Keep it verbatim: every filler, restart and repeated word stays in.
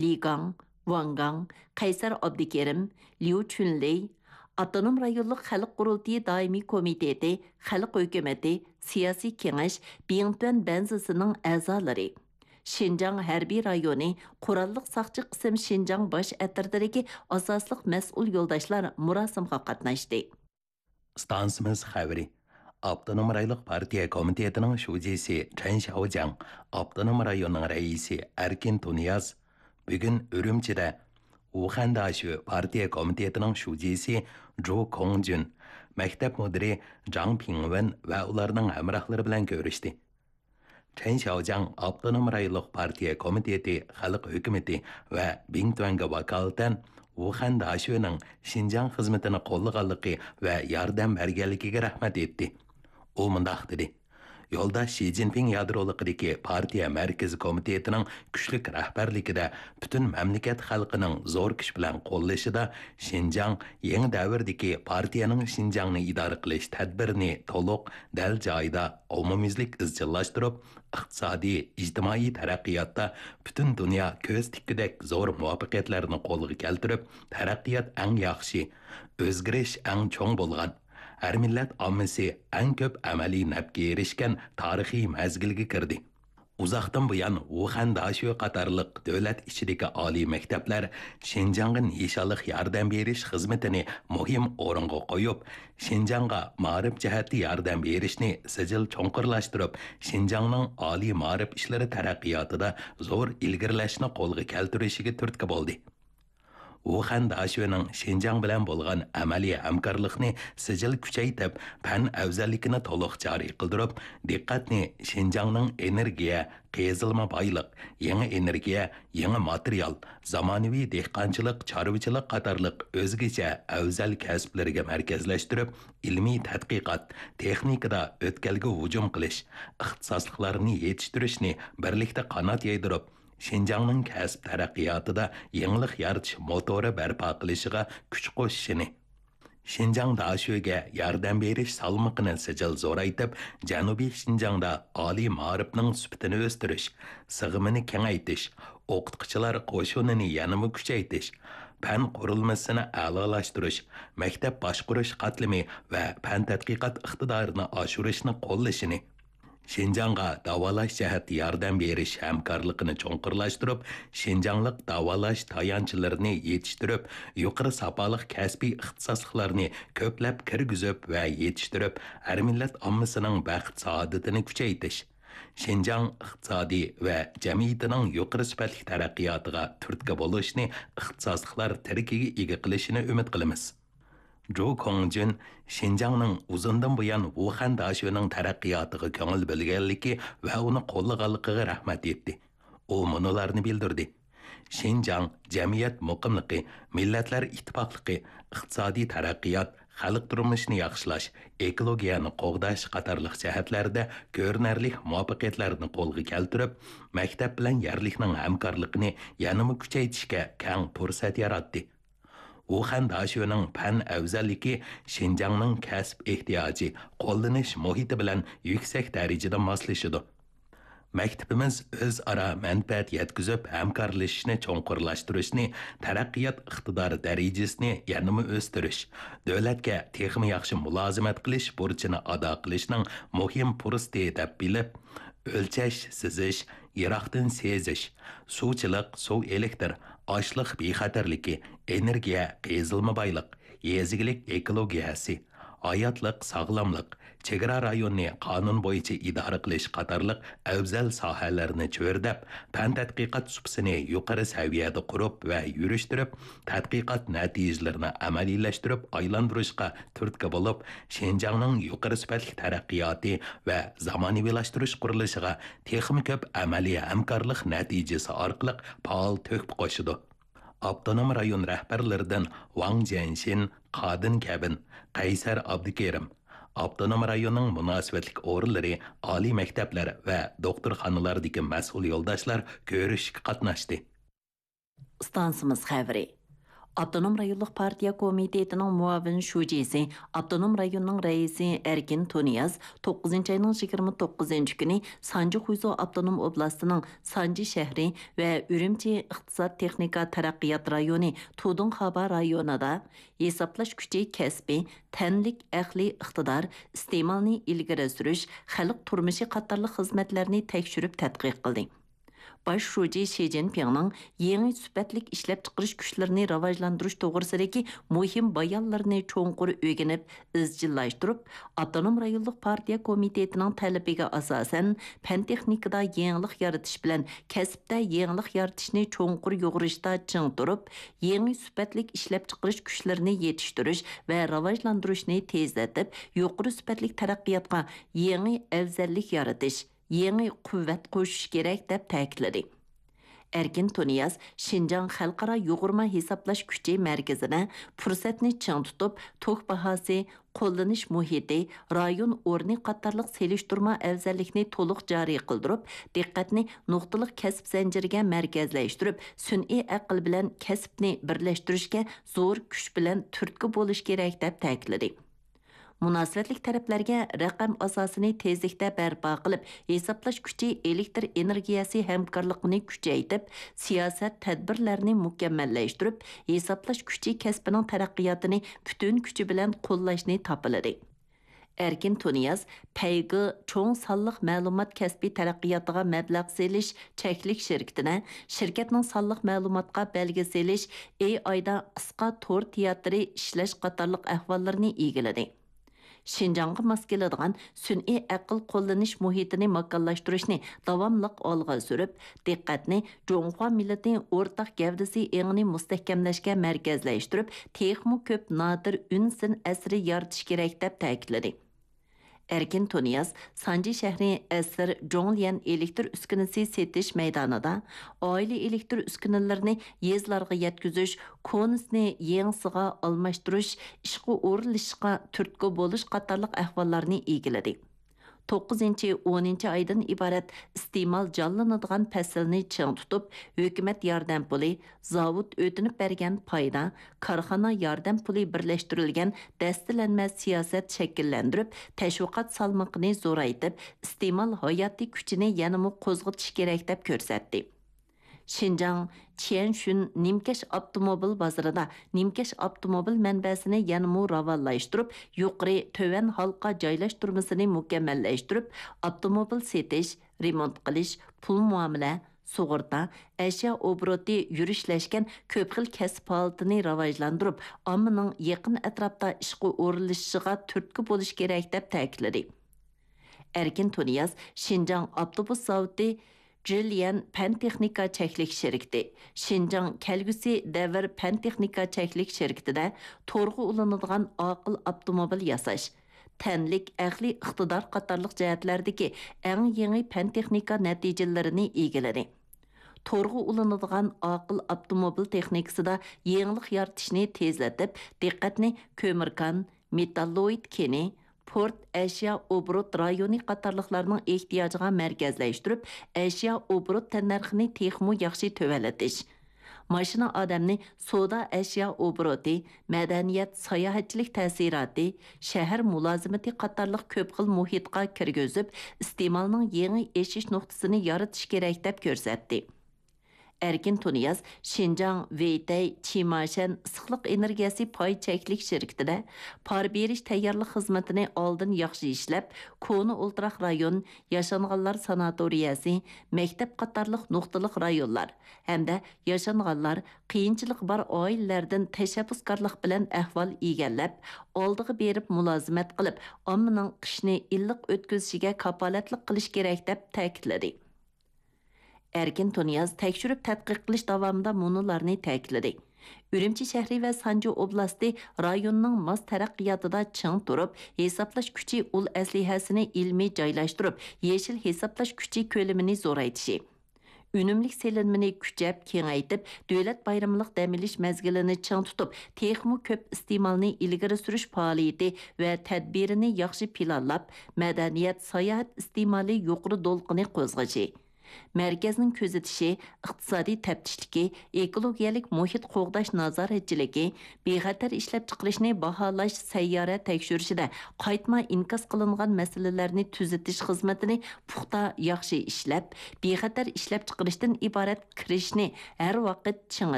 لى گاڭ، ۋاڭ گاڭ، قەيسەر ئابدۇكېرىم، ليۇ چۈنلېي، ئاپتونوم رايونلۇق خەلق قۇرۇلتىيى دائىمىي كومىتېتى، خەلق ھۆكۈمىتى، سىياسىي كېڭەش، بىڭتۈەن بەنزىسىنىڭ ئەزالىرى، شىنجاڭ ھەربىي رايونى قوراللىق ساقچى قىسىم شىنجاڭ باش ئەترىتىدىكى ئاساسلىق مەسئۇل يولداشلار مۇراسىمغا قاتناشتى. ئىستانسىمىز خەۋىرى. ئاپتونوم رايونلۇق پارتىيە كومىتېتىنىڭ شۇجىسى چەن شياۋجياڭ، ئاپتونوم رايوننىڭ رەئىسى ئەركىن تۇنىياز بۈگۈن ئۈرۈمچىدە ۋۇخەن داشۆ پارتىيە كومىتېتىنىڭ شۇجىسى جۇ كوڭجۈن، مەكتەپ مۇدىرى جاڭ پىڭۋېن ۋە ئۇلارنىڭ ھەمراھلىرى بىلەن كۆرۈشتى. چەن شياۋجياڭ ئاپتونوم رايونلۇق پارتىيە كومىتېتى خەلق ھۆكۈمىتى ۋە بىڭتۈەنگە ۋاكالىتەن ۋۇخەن داشۆنىڭ شىنجاڭ خىزمىتىنى قوللىغانلىقى ۋە ياردەم بەرگەنلىكىگە رەھمەت ئېيتتى. ئۇ مۇنداق دېدى: يولداش شى جىنپىڭ يادرولۇقىدىكى پارتىيە مەركىزىي كومىتېتىنىڭ كۈچلۈك رەھبەرلىكىدە پۈتۈن مەملىكەت خەلقىنىڭ زور كۈچ بىلەن قوللىشىدا شىنجاڭ يېڭى دەۋردىكى پارتىيەنىڭ شىنجاڭنى ئىدارە قىلىش تەدبىرىنى تولۇق، دەل جايىدا، ئومۇميۈزلۈك ئىزچىللاشتۇرۇپ، ئىقتىسادىي، ئىجتىمائىي تەرەققىياتتا پۈتۈن دۇنيا كۆز تىككۈدەك زور مۇۋەپپەقىيەتلەرنى قولغا كەلتۈرۈپ، تەرەققىيات ئەڭ ياخشى، ئۆزگىرىش ئەڭ چوڭ بولغان، ھەر مىللەت ئاممىسى ئەڭ كۆپ ئەمەلىي نەپكە ئېرىشكەن تارىخىي مەزگىلگە كىردى. ئۇزاقتىن بۇيان ۋۇخەن داشۆ قاتارلىق دۆلەت ئىچىدىكى ئالىي مەكتەپلەر شىنجاڭغا نىشانلىق ياردەم بېرىش خىزمىتىنى مۇھىم ئورۇنغا قويۇپ، شىنجاڭغا مائارىپ جەھەتتە ياردەم بېرىشنى سىجىل چوڭقۇرلاشتۇرۇپ، شىنجاڭنىڭ ئالىي مائارىپ ئىشلىرى تەرەققىياتىدا زور ئىلگىرىلەشنى قولغا كەلتۈرۈشىگە تۈرتكە بولدى. ۋۇخەن داشۆنىڭ شىنجاڭ بىلەن بولغان ئەمەلىي ھەمكارلىقنى سىجىل كۈچەيتىپ، پەن ئەۋزەللىكىنى تولۇق جارى قىلدۇرۇپ، دىققەتنى شىنجاڭنىڭ ئېنېرگىيە، قېزىلما بايلىق، يېڭى ئېنېرگىيە، يېڭى ماتېرىيال، زامانىۋى دېھقانچىلىق، چارۋىچىلىق قاتارلىق ئۆزگىچە ئەۋزەل كەسىپلىرىگە مەركەزلەشتۈرۈپ، ئىلمىي تەتقىقات، تېخنىكىدا ئۆتكەلگە ھۇجۇم قىلىش، ئىختىساسلىقلارنى يېتىشتۈرۈشنى بىرلىكتە قانات يايدۇرۇپ، شىنجاڭنىڭ كەسىپ تەرەققىياتىدا يېڭىلىق يارىتىش موتورى بەرپا قىلىشىغا كۈچ قوشۇشىنى، شىنجاڭ داشۆگە ياردەم بېرىش سالمىقىنى سىجىل زورايتىپ، جەنۇبىي شىنجاڭدا ئالىي مائارىپنىڭ سۈپىتىنى ئۆستۈرۈش، سىغىمىنى كېڭەيتىش، ئوقۇتقۇچىلار قوشۇنىنى يەنىمۇ كۈچەيتىش، پەن قۇرۇلمىسىنى ئەلالاشتۇرۇش، مەكتەپ باشقۇرۇش قاتلىمى ۋە پەن تەتقىقات ئىقتىدارىنى ئاشۇرۇشنى قوللىشىنى، شىنجاڭغا داۋالاش جەھەتتە ياردەم بېرىش ھەمكارلىقىنى چوڭقۇرلاشتۇرۇپ، شىنجاڭلىق داۋالاش تايانچلىرىنى يېتىشتۈرۈپ، يۇقىرى ساپالىق كەسپىي ئىختىساسلىقلارنى كۆپلەپ كىرگۈزۈپ ۋە يېتىشتۈرۈپ، ھەر مىللەت ئاممىسىنىڭ بەخت-سائادىتىنى كۈچەيتىش، شىنجاڭ ئىقتىسادى ۋە جەمئىيىتىنىڭ يۇقىرى سۈپەتلىك تەرەققىياتىغا تۈرتكە بولۇشنى ئىختىساسلىقلار تىرىكىگە ئىگە قىلىشىنى ئۈمىد قىلىمىز. جۇ كوڭجۈن شىنجاڭنىڭ ئۇزۇندىن بۇيان ۋۇخەن داشۆنىڭ تەرەققىياتىغا كۆڭۈل بۆلگەنلىكى ۋە ئۇنى قوللىغانلىقىغا رەھمەت ئېيتتى. ئۇ مۇنۇلارنى بىلدۈردى: شىنجاڭ جەمئىيەت مۇقىملىقى، مىللەتلەر ئىتتىپاقلىقى، ئىقتىسادىي تەرەققىيات، خەلق تۇرمۇشىنى ياخشىلاش، ئېكولوگىيەنى قوغداش قاتارلىق جەھەتلەردە كۆرۈنەرلىك مۇۋەپپەقىيەتلەرنى قولغا كەلتۈرۈپ، مەكتەپ بىلەن يەرلىكنىڭ ھەمكارلىقىنى يەنىمۇ كۈچەيتىشكە كەڭ پۇرسەت ياراتتى. ۋۇخەن داشۆنىڭ پەن ئەۋزەللىكى شىنجاڭنىڭ كەسىپ ئېھتىياجى، قوللىنىش مۇھىتى بىلەن يۈكسەك دەرىجىدە ماسلىشىدۇ. مەكتىپىمىز ئۆزئارا مەنپەئەت يەتكۈزۈپ، ھەمكارلىشىشنى چوڭقۇرلاشتۇرۇشنى، تەرەققىيات ئىقتىدارى دەرىجىسىنى يەنىمۇ ئۆستۈرۈش، دۆلەتكە تېخىمۇ ياخشى مۇلازىمەت قىلىش بۇرچىنى ئادا قىلىشنىڭ مۇھىم پۇرسىتى دەپ بىلىپ، ئۆلچەش، سىزىش، يىراقتىن سېزىش، سۇچىلىق، سۇ ئېلېكتىر، ئاشلىق بىخەتەرلىكى، ئېنېرگىيە، قېزىلما بايلىق، يېزا ئىگىلىك ئېكولوگىيەسى، ھاياتلىق، ساغلاملىق، چېگرا رايونىنى قانۇن بويىچە ئىدارە قىلىش قاتارلىق ئەۋزەل ساھەلەرنى چۆرىدەپ، پەن تەتقىقات سۇپىسىنى يۇقىرى سەۋىيەدە قۇرۇپ ۋە يۈرۈشتۈرۈپ، تەتقىقات نەتىجىلىرىنى ئەمەلىيلەشتۈرۈپ ئايلاندۇرۇشقا تۈرتكە بولۇپ، شىنجاڭنىڭ يۇقىرى سۈپەتلىك تەرەققىياتى ۋە زامانىۋىلاشتۇرۇش قۇرۇلۇشىغا تېخىمۇ كۆپ ئەمەلىي ھەمكارلىق نەتىجىسى ئارقىلىق پائال تۆھپە قوشىدۇ. ئاپتونوم رايون رەھبەرلىرىدىن ۋاڭ جيەنشىن، قادىن كەبىن، قەيسەر ئابدۇكېرىم، ئاپتونوم رايوننىڭ مۇناسىۋەتلىك ئورۇنلىرى، ئالىي مەكتەپلەر ۋە دوختۇرخانىلاردىكى مەسئۇل يولداشلار كۆرۈشۈشكە قاتناشتى. ئىستانسىمىز خەۋىرى. ئاپتونوم رايونلۇق پارتىيە كومىتېتىنىڭ مۇئاۋىن شۇجىسى، ئاپتونوم رايوننىڭ رەئىسى ئەركىن تۇنىياز توققۇزىنچى ئاينىڭ يىگىرمە توققۇزىنچى كۈنى سانجى خۇيزۇ ئاپتونوم ئوبلاستىنىڭ سانجى شەھىرى ۋە ئۈرۈمچى ئىقتىساد تېخنىكا تەرەققىيات رايونى تۇدۇڭخابا رايونىدا ھېسابلاش كۈچى كەسپى، تەنلىك ئەقلىي ئىقتىدار، ئىستېمالنى ئىلگىرى سۈرۈش، خەلق تۇرمۇشى قاتارلىق خىزمەتلەرنى تەكشۈرۈپ تەتقىق قىلدى. باش شۇجى شى جىنپىڭنىڭ يېڭى سۈپەتلىك ئىشلەپچىقىرىش كۈچلىرىنى راۋاجلاندۇرۇش توغرىسىدىكى مۇھىم بايانلىرىنى چوڭقۇر ئۆگىنىپ، ئىزچىللاشتۇرۇپ، ئاپتونوم رايونلۇق پارتىيە كومىتېتىنىڭ تەلىپىگە ئاساسەن، پەن تېخنىكىدا يېڭىلىق يارىتىش بىلەن كەسىپتە يېڭىلىق يارىتىشنى چوڭقۇر يۇغۇرۇشتا چىڭ تۇرۇپ، يېڭى سۈپەتلىك ئىشلەپچىقىرىش كۈچلىرىنى يېتىشتۈرۈش ۋە راۋاجلاندۇرۇشنى تېزلىتىپ، يۇقىرى سۈپەتلىك تەرەققىياتقا يېڭى ئەۋزەللىك يارىتىش، يېڭى قۇۋۋەت قوشۇش كېرەك، دەپ تەكىتلىدى. ئەركىن تۇنىياز شىنجاڭ خەلقئارا يۇغۇرما ھېسابلاش كۈچى مەركىزىدە پۇرسەتنى چىڭ تۇتۇپ، توك باھاسى، قوللىنىش مۇھىتى، رايون ئورنى قاتارلىق سېلىشتۇرما ئەۋزەللىكنى تولۇق جارى قىلدۇرۇپ، دىققەتنى نۇقتىلىق كەسىپ زەنجىرىگە مەركەزلەشتۈرۈپ، سۈنئىي ئەقىل بىلەن كەسىپنى بىرلەشتۈرۈشكە زور كۈچ بىلەن تۈرتكە بولۇش كېرەك، دەپ تەكىتلىدى. مۇناسىۋەتلىك تەرەپلەرگە رەقەم ئاساسىنى تېزلىكتە بەرپا قىلىپ، ھېسابلاش كۈچى ئېلېكتر ئېنېرگىيەسى ھەمكارلىقىنى كۈچەيتىپ، سىياسەت تەدبىرلەرنى مۇكەممەللەشتۈرۈپ، ھېسابلاش كۈچى كەسپىنىڭ تەرەققىياتىنى پۈتۈن كۈچى بىلەن قوللاشنى تاپىلىدى. ئەركىن تۇنىياز پەيگې چوڭ سانلىق مەلۇمات كەسپى تەرەققىياتىغا مەبلەغ سېلىش چەكلىك شىركىتىدە شىركەتنىڭ سانلىق مەلۇماتقا بەلگە سېلىش، ئېي ئايدا قىسقا تور تىياتىرى ئىشلەش قاتارلىق ئەھۋاللىرىنى ئىگىلىدى. شىنجاڭغا ماس كېلىدىغان سۈنئىي ئەقىل قوللىنىش مۇھىتىنى ماكانلاشتۇرۇشنى داۋاملىق ئالغا سۈرۈپ، دىققەتنى جۇڭخۇا مىللىتى ئورتاق گەۋدىسى ئېڭىنى مۇستەھكەملەشكە مەركەزلەشتۈرۈپ، تېخىمۇ كۆپ نادىر ئۈن سىن ئەسىرى يارىتىش كېرەك، دەپ تەكىتلىدى. ئەركىن تۇنىياز سانجى شەھىرى ئەسىر جوڭليەن ئېلېكتر ئۈسكۈنىسى سېتىش مەيدانىدا ئائىلە ئېلېكتر ئۈسكۈنىلىرىنى يېزىلارغا يەتكۈزۈش، كونىسىنى يېڭىسىغا ئالماشتۇرۇش، ئىشقا ئورۇنلىشىشقا تۈرتكە بولۇش قاتارلىق ئەھۋاللارنى ئىگىلىدى. توققۇزىنچى، ئونىنچى ئايدىن ئىبارەت ئىستېمال جانلىنىدىغان پەسىلنى چىڭ تۇتۇپ، ھۆكۈمەت ياردەم پۇلى، زاۋۇت ئۆتۈنۈپ بەرگەن پايدا، كارخانا ياردەم پۇلى بىرلەشتۈرۈلگەن دەستىلەنمە سىياسەت شەكىللەندۈرۈپ، تەشۋىقات سالمىقىنى زورايتىپ، ئىستېمال ھاياتىي كۈچىنى يەنىمۇ قوزغىتىش كېرەك، دەپ كۆرسەتتى. شىنجاڭ چيەنشۈن نىمكەش ئاپتوموبىل بازىرىدا نىمكەش ئاپتوموبىل مەنبەسىنى يەنىمۇ راۋانلاشتۇرۇپ، يۇقىرى، تۆۋەن ھالقا جايلاشتۇرمىسىنى مۇكەممەللەشتۈرۈپ، ئاپتوموبىل سېتىش، رېمونت قىلىش، پۇل مۇئامىلە، سۇغۇرتا، ئەشيا ئوبوروتى يۈرۈشلەشكەن كۆپ خىل كەسىپ ھالىتىنى راۋاجلاندۇرۇپ، ئاممىنىڭ يېقىن ئەتراپتا ئىشقا ئورۇنلىشىشىغا تۈرتكە بولۇش كېرەك، دەپ تەكىتلىدى. ئەركىن تۇنىياز شىنجاڭ ئاپتوبۇس زاۋۇتى جىليەن پەن تېخنىكا چەكلىك شىركىتى، شىنجاڭ كەلگۈسى دەۋر پەن تېخنىكا چەكلىك شىركىتىدە تورغا ئۇلىنىدىغان ئاقىل ئاپتوموبىل ياساش، تەنلىك ئەقلىي ئىقتىدار قاتارلىق جەھەتلەردىكى ئەڭ يېڭى پەن تېخنىكا نەتىجىلىرىنى ئىگىلىدى. تورغا ئۇلىنىدىغان ئاقىل ئاپتوموبىل تېخنىكىسىدا يېڭىلىق يارىتىشنى تېزلىتىپ، دىققەتنى كۆمۈركان، مېتاللوئىد كېنى، پورت، ئەشيا ئوبوروت رايونى قاتارلىقلارنىڭ ئېھتىياجىغا مەركەزلەشتۈرۈپ، ئەشيا ئوبوروت تەننەرخىنى تېخىمۇ ياخشى تۆۋەنلىتىش، ماشىنا ئادەمنى سودا ئەشيا ئوبوروتى، مەدەنىيەت، ساياھەتچىلىك تەسىراتى، شەھەر مۇلازىمىتى قاتارلىق كۆپ خىل مۇھىتقا كىرگۈزۈپ، ئىستېمالنىڭ يېڭى ئېشىش نۇقتىسىنى يارىتىش كېرەك، دەپ كۆرسەتتى. ئەركىن تۇنىياز شىنجاڭ ۋېيتەي، چىماشەن ئىسسىقلىق ئېنېرگىيەسى پاي چەكلىك شىركىتىدە پار بېرىش تەييارلىق خىزمىتىنى ئالدىن ياخشى ئىشلەپ، كونا ئولتۇراق رايون، ياشانغانلار ساناتورىيەسى، مەكتەپ قاتارلىق نۇقتىلىق رايونلار ھەمدە ياشانغانلار، قىيىنچىلىقى بار ئائىلىلەردىن تەشەببۇسكارلىق بىلەن ئەھۋال ئىگىلەپ، ئالدىغا بېرىپ مۇلازىمەت قىلىپ، ئاممىنىڭ قىشنى ئىللىق ئۆتكۈزۈشىگە كاپالەتلىك قىلىش كېرەك، دەپ تەكىتلىدى. ئەركىن تۇنىياز تەكشۈرۈپ تەتقىق قىلىش داۋامىدا مۇنۇلارنى تەكىتلىدى: ئۈرۈمچى شەھىرى ۋە سانجى ئوبلاستى رايوننىڭ ماس تەرەققىياتىدا چىڭ تۇرۇپ، ھېسابلاش كۈچى ئۇل ئەسلىھەسىنى ئىلمىي جايلاشتۇرۇپ، يېشىل ھېسابلاش كۈچى كۆلىمىنى زورايتىشى، ئۈنۈملۈك سېلىنمىنى كۈچەپ كېڭەيتىپ، دۆلەت بايرىملىق دەم ئېلىش مەزگىلىنى چىڭ تۇتۇپ، تېخىمۇ كۆپ ئىستېمالنى ئىلگىرى سۈرۈش پائالىيىتى ۋە تەدبىرىنى ياخشى پىلانلاپ، مەدەنىيەت، ساياھەت ئىستېمالى يۇقىرى دولقۇنى قوزغىشى، مەركەزنىڭ كۆزىتىشى، ئىقتىسادىي تەپتىشلىكى، ئېكولوگىيەلىك مۇھىت قوغداش نازارەتچىلىكى، بىخەتەر ئىشلەپچىقىرىشنى باھالاش سەييارە تەكشۈرۈشىدە قايتما ئىنكاس قىلىنغان مەسىلىلەرنى تۈزىتىش خىزمىتىنى پۇختا، ياخشى ئىشلەپ، بىخەتەر ئىشلەپچىقىرىشتىن ئىبارەت كىرىشنى ھەر ۋاقىت چىڭ